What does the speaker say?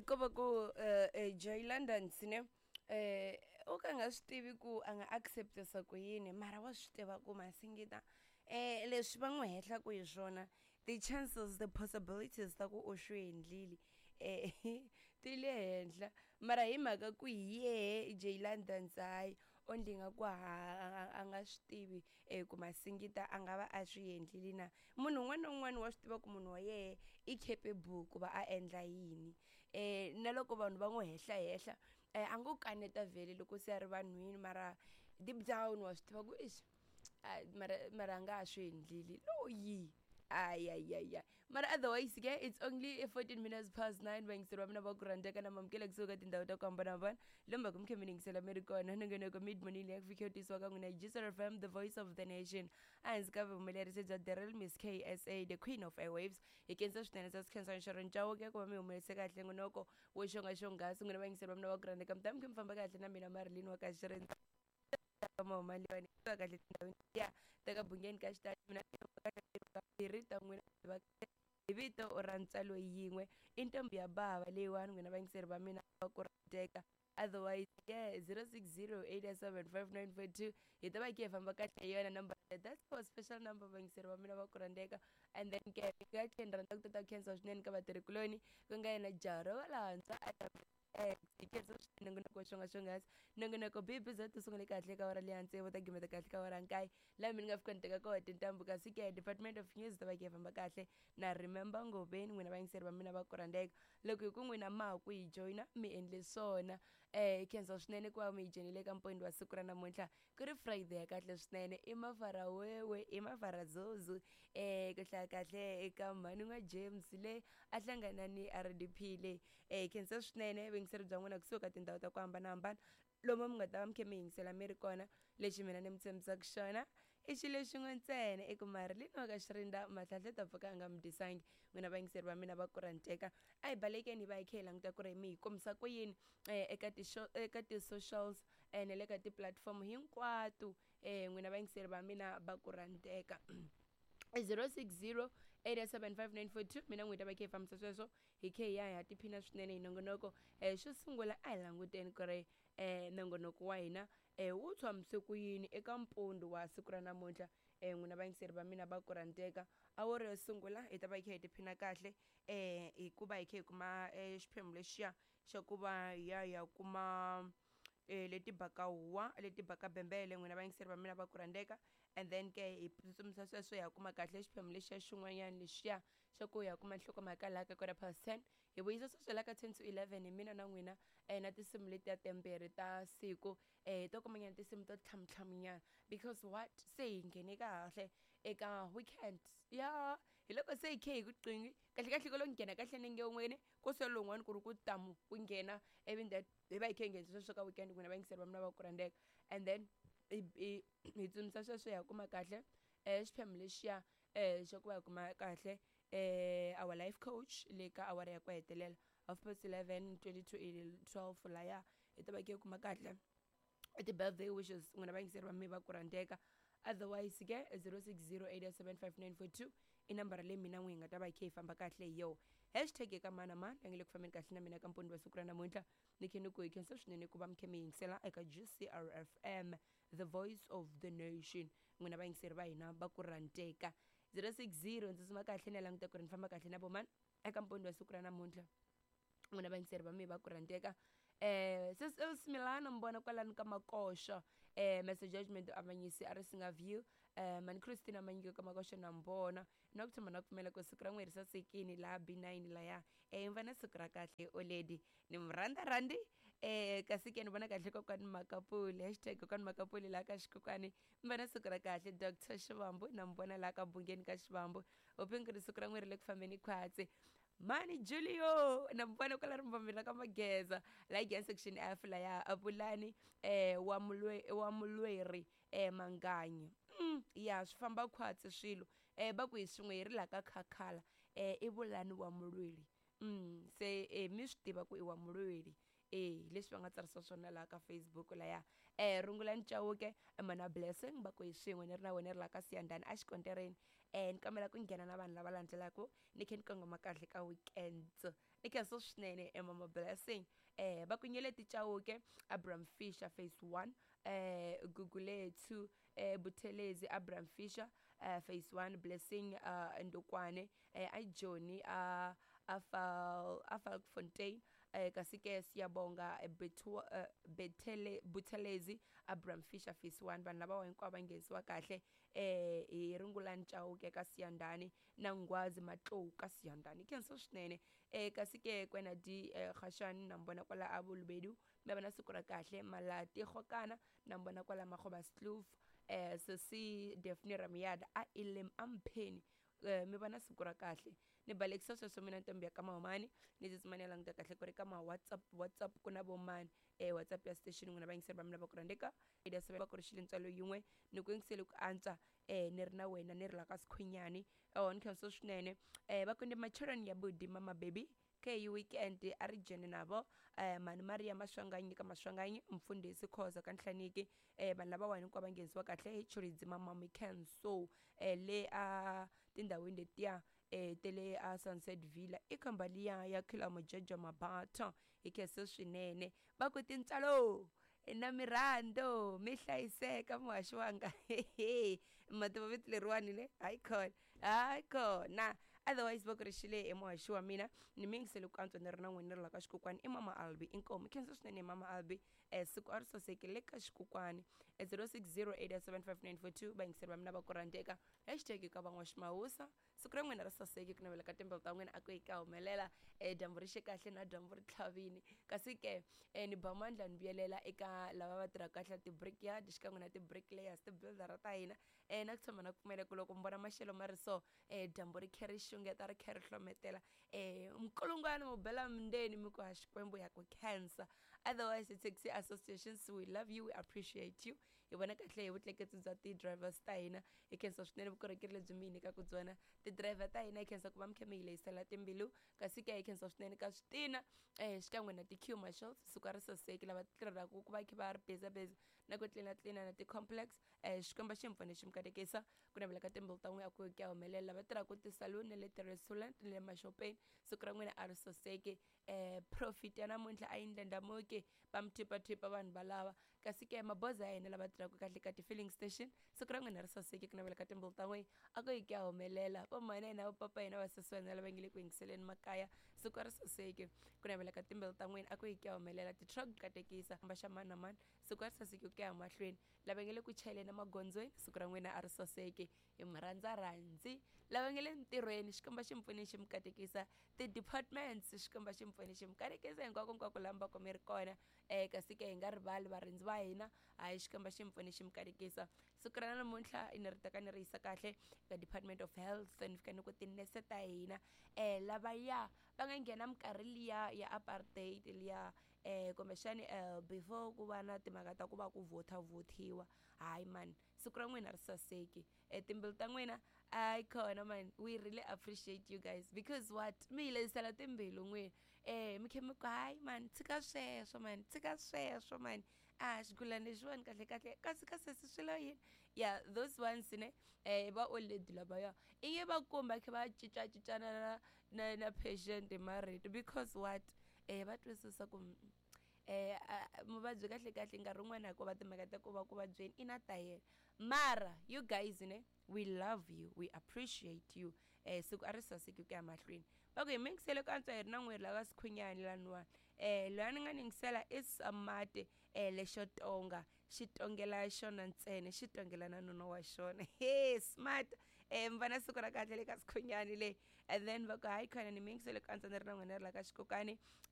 Ko va ku Joy London ne o ka nga swi tivi ku a nga accept-isa ku yini mara wa swi tiva ku Masingita leswi va n'wi hehlaku hi swona ti-chances the possibilities ta ku u swi endlile ti le henhla mara hi mhaka ku hi yehe Jay London hayi onge nga ku a nga swi tivi ku Masingita a nga va a swi endlile na munhu un'wana na un'wana wa swi tiva ku munhu wa yehe i capable ku va a endla yini na loko vanhu va n'wi hehla hehla a ngo kaneta vhele loko se a ri vanhwini mara deep down wa swi tiva ku ixi mara mara a nga ha swi endlile loyi ayayaya. Mara otherwise ke it's only 14 minutes past 9, vayingiseri va mina va ku rhandzeka na mamukela kusuka ka tindhawu ta ku hambanahambana lomu ku mi kha mi yingisela mi ri kona. Nongonoko Mid Morning leyi ku fike tisiwa ka n'wina hi GCR FM, the voice of the nation, ehansi ka vuhumelerisi bya Daryl Miss KSA, the queen of airwaves. Hi khensa swinene sa Sikhensa Nxoro Chauke ku va mi humelerisa kahle ngonoko wo xonga xonghasi. N'wina vayingiseri va mina va ku rhandzeka, mi ta mi kha mi famba kahle na mina Marilyn wa ka Xirendzana mahumaliwani kahle tindhawini ya ta ka Bungeni ka xitalo. Mina kambirhi ta n'wina va hi vito ra ntswalo yin'we i ntombi ya bava leyiwani, n'wina vayingiseri va mina va ku rhandzeka. Otherwise yeah, 0608755942 hi ta va hi khe hi famba kahle hi yona number. That's our special number, vayingiseri va mina va ku rhandzeka. And then ke nga tlhela ni rhandza ku tata khensa swinene ka vatirhikuloni, ku nga yena jaha ro valantshwa hi khensa swinene nongonoko wa xonga xonghasi. Nongonoko bibi za ti sungule kahle ka awara leya tsevu, ta gimeta kahle ka awara nkaye, laha mi ni nga fika ni teka koho tintambu. Kasi ke Department of News ta va khe hi famba kahle na Remember Ngoveni. N'wina vayingiseri va mina va ku rhandzeka, loko hi ku n'wina ma ha ku hi joyina, mi endle swona. Hi khensa swinene ku va mi hi joyinile eka mpondo wa siku ra namuntlha, ku ri Friday ya kahle swinene. I mafara wewe, i mafara zozu ku hlaya kahle eka mhani n'wa James le a hlangana ni RDP le. Hi khensa swinene vuyingiseri bya n'wina kusuka ka tindhawu ta ku hambanahambana lomu mi nga ta va mi kha mi yingisela mi ri kona. Lexi mina ni mi tshembisaka xona i xilo xin'we ntsena, i ku Marilyn wa ka Xirinda Mahlahla ta pfuka a nga mi dyisangi. N'wina vayingiseri va mina va ku rhandzeka, a hi balekeni hi va hi kha hi languta ku ri mi hi kombisa ku yini eka ti eka ti-socials na le ka ti-platform hinkwato. N'wina vayingiseri va mina va ku rhandzeka, 060 875 mina n'wi ta va kha hi fambisa sweswo, hi khe hi ya hi ya tiphina swinene hi nongonoko. Xo sungula a hi languteni ku ri nongonoko wa hina wu tshamise ku yini eka mpundu wa siku ra namuntlha. N'wina vayingiseri va mina va ku rhandzeka, awara yo sungula hi ta va hi kha hi tiphina kahle hikuva hi kha hi kuma xiphemu lexiya xa ku va hi ya hi ya kuma leti baka huwa, leti baka bembele, n'wina vayingiseri va mina va ku rhandzeka. And then ke hi tsutsumisa sweswo hi ya kuma kahle xiphemu lexiya xin'wanyana lexiya xa ku ya kuma nhlokomhaka laha ka 10:15, hi vuyisa sweswo la ka 10:50 hi mina na n'wina na tinsimu letiya timbirhi ta siku to kumanyana tinsimu to tlhamutlhamunyana, because what se hi nghene kahle eka weekend ya hi loko se hi khe hi ku qingi kahle kahle ko lo nghena kahle nenge wun'weni ko se lowun'wani ku ri ku tamu ku nghena, ivi that hi va hi khe hi nghenisa sweswo ka weekend, n'wina vayingiseri va mina va ku rhandzeka. And then hi hi tsundzuxa sweswo hi ya kuma kahle xiphemu lexiya xa ku va hi kuma kahle our life coach le ka awara ya ku hetelela, 11:30, 11:40 laya hi ta va hi kha hi kuma kahle ti-birthday wishes, n'wina vayingiseri va mi va ku rhandzeka. Otherwise ke 0608755942 i nambara leyi mina n'wi hi nga ta va hi kha hi famba kahle hi yo. Hashtag eka mani na mani la nge le ku fambeni kahle na mina ka mpondo wa siku ra namuntlha. Ni khe ni ku hi khensa swinene ku va mi kha mi yingisela eka GCR FM, the voice of the nation. N'wina vayingiseri va hina va ku rhandzeka, 060 ndzi suma kahle ni ya languta ku ri ni famba kahle na vomani eka mpondo wa siku ra namuntlha. N'wina vayingiseri va mi va ku rhandzeka, sis Els Milano mbona kwalano ka Makoxo, Mr Judgment Avanyisi a ri singa view, mani Christina Manyiko ka Makoxo na mbona na ku tshama na pfumela ku siku ra n'we ri sasekini laha B9 laya. Mi va na siku ra kahle oledi ni mi rhandza rhandi. Kasi ke ni vona kahle kokwani Makapuli, hashtag kokwani Makapuli laha ka xikokwani, mi va na siku ra kahle. Dr Xivambu na mi vona laha ka Bungeni ka Xivambu, hopeni ku ri siku ra n'we ri le ku fambeni khwatsi. Mani Julio na mi vona kwala rimbambeni ra ka Mageza la yi section F laya, Apulani wa mulwe wa mulweri Manganyi. Ya swi famba khwatsi swilo va ku hi swin'we hi ri la ka Khakhala, i Vulani wa mulweri. Se mi swi tiva ku i wa mulweri leswi va nga tsarisa swona laha ka Facebook laya. Rungulani Chauke mana Blessing va ku hi swin'we ni ri na wena ri la ka Siyandhani a xikontereni. Ni kombela ku nghena na vanhu lava landzelaka ni khe ni kongoma kahle ka weekends. Ni khensa swinene mama Blessing. Va ku Nyeleti Chauke, Abraham Fisher phase 1, Gugulethu Buthelezi, Abraham Fisher phase 1, Blessing Ndukwane, a Johnny a Falkfontein, kasi ke Siyabonga Buthelezi, Abraham Fisher phase 1. Vanhu lava hinkwavo va nghenisiwa kahle hi Rungulani Chauke ka Siyandhani na Nghwazi Matlou ka Siyandhani. Khensa swinene. Kasi ke kwena di Khashani na mbona kwala a Bolobedu, mi va na siku ra kahle. Malati Khokana na mbona kwala Makgobaskloof, Sesi Daphne Ramyada a Elim Ampheni, mi va na siku ra kahle. Ni balekisa sweswo mina ntombi ya ka Mahumani, ni tsutsuma ni ya languta kahle ku ri ka ma WhatsApp ku na vo mani. WhatsApp ya station n'wina vayingiseri va mina va ku rhandzeka ya seven va ku ri xile ntswalo yin'we ni ku yingisele ku antswa ni ri na wena ni ri la ka Sikhunyani. Ni khensa swinene. Va ku ndi macheloni ya budi mama baby ke weekend a ri dzhene navo mani Maria Maswanganyi ka Maswanganyi, mfundhisi Khoza ka Nhlaniki. Vanhu lavawani hinkwavo va nghenisiwa kahle hi Chiridzi mama Mikhenso le a tindhawini letiya te le a Sunset Villa i khamba liya ya Khila Mujejo Mabatha. Hi khensa swinene. Va ku tintswalo na mirhando mi hlayiseka muhaxi wanga. Mativa vito leriwani ne hayi khona hayi khona. Otherwise va ku ri xile emuhaxi wa mina ni mi yingisele ku antswa ni ri na n'wina ni ri la ka xikokwani i mama Albi. Inkomu khensa swinene mama Albi. Siku a ri sasekile le ka xikokwani. 0608755942 vayingiseri va mina va ku rhandzeka hashtag ka van'waximawusa. Siku ra n'wina ri saseke ku navela ka timbilu ta n'wina a ku yi ka humelela. Dyambu ri xe kahle na dyambu ri tlhavini. Kasi ke ni ba mandla ni vuyelela eka lava va tirhaka kahle ti-brickyard xikan'we na ti-bricklayers, ti-builder ta hina. Na ku tshemba na ku pfumela ku loko mi vona maxelo ma ri so, dyambu ri khe ri xungeta ri khe ri hlometela, minkulungwana mu bela mindzeni mi ku ha Xikwembu ya ku khensa. Otherwise taxi associations, we love you, we appreciate you. Hi vona kahle hi vutleketli bya ti-drivers ta hina. Hi khensa swinene vukorhokeri lebyi mi hi nyikaka byona ti-driver ta hina. Hi khensa ku va mi kha mi hi lehisela timbilu. Kasi ke hi khensa swinene ka switina xikan'we na ti-queue marshals. Siku a ri saseki lava tirhelaka ku va kha va ri busy busy na ku tlina tlina na ti-complex. Xikwembu xi mi pfune xi mi katekisa ku navela ka timbilu ta n'wina ku ya humelela. Lava tirhaka ti-saloon na le ti-restaurant na le maxopeni, siku ra n'wina a ri saseki. Profit ya namuntlha a yi ndlandlamuki, va mi thipathipa vanhu valava. Kasi ke maboza ya hina lava tirhaka kahle ka ti-filling station, siku ra n'wina ri saseki ku navela ka timbilu ta n'wina a ku yi ku ya humelela. Vo mhani hina, vo papa hina, vasesi wa hina lava nge le ku yingiseleni makaya, siku ri saseki ku navela ka timbilu ta n'wina a ku yi ku ya humelela. Ti-truck katekisa va xa mani na mani, siku ri saseki ku ya mahlweni. Lava nge le ku chayeleni emagondzweni, siku ra n'wina a ri saseki hi mi rhandza rhandzi. Lava nge le ntirhweni, Xikwembu xi mi pfune xi mi katekisa. Ti-departments, Xikwembu xi mi pfune xi mi katekisa hinkwako hinkwako laha mi va ku mi ri kona. Kasi ke hi nga rivali varindzi va hina, hayi Xikwembu xi mi pfune xi mi katekisa. Siku ra namuntlha ni ri teka ni ri yisa kahle ka Department of Health, ni fika ni ku tinese ta hina lavaya va nga nghena minkarhi liya ya apartheid liya, kumbexani before ku va na timhaka ta ku va ku vhota vhothiwa. Hayi mani, siku ra n'wina ri saseki. Timbilu ta n'wina hayi khona mani, we really appreciate you guys because what mi hi lehisela timbilu n'wina. Mi khe mi ku hayi mani tshika sweswo mani, tshika sweswo mani, a xigulana lexiwani kahle kahle kasi ka sesi swi lo yini. Yeah, those ones ne va old lady lavaya i nge va kumba khe va cincacincana na patient hi marito because what va twisisa ku muvabyi kahle kahle nkarhi wun'wani hikuva timhaka ta ku va ku vabyeni i na ta yena. Mara you guys ne, we love you, we appreciate you. Siku a ri saseki ku ya mahlweni. Va ku hi mi yingisele ku antswa hi ri na n'weri lava Sikhunyani laniwani. Loyi a ni nga ni yingisela i Samate lexo tonga xi tongela xona ntsena, xi tongela na nuna wa xona. He smart. Mi va na siku ra kahle le ka Sikhunyani le. And then va ku hayi khona ni mi yingisele ku antswa ni ri na n'wina ri la ka xikokani.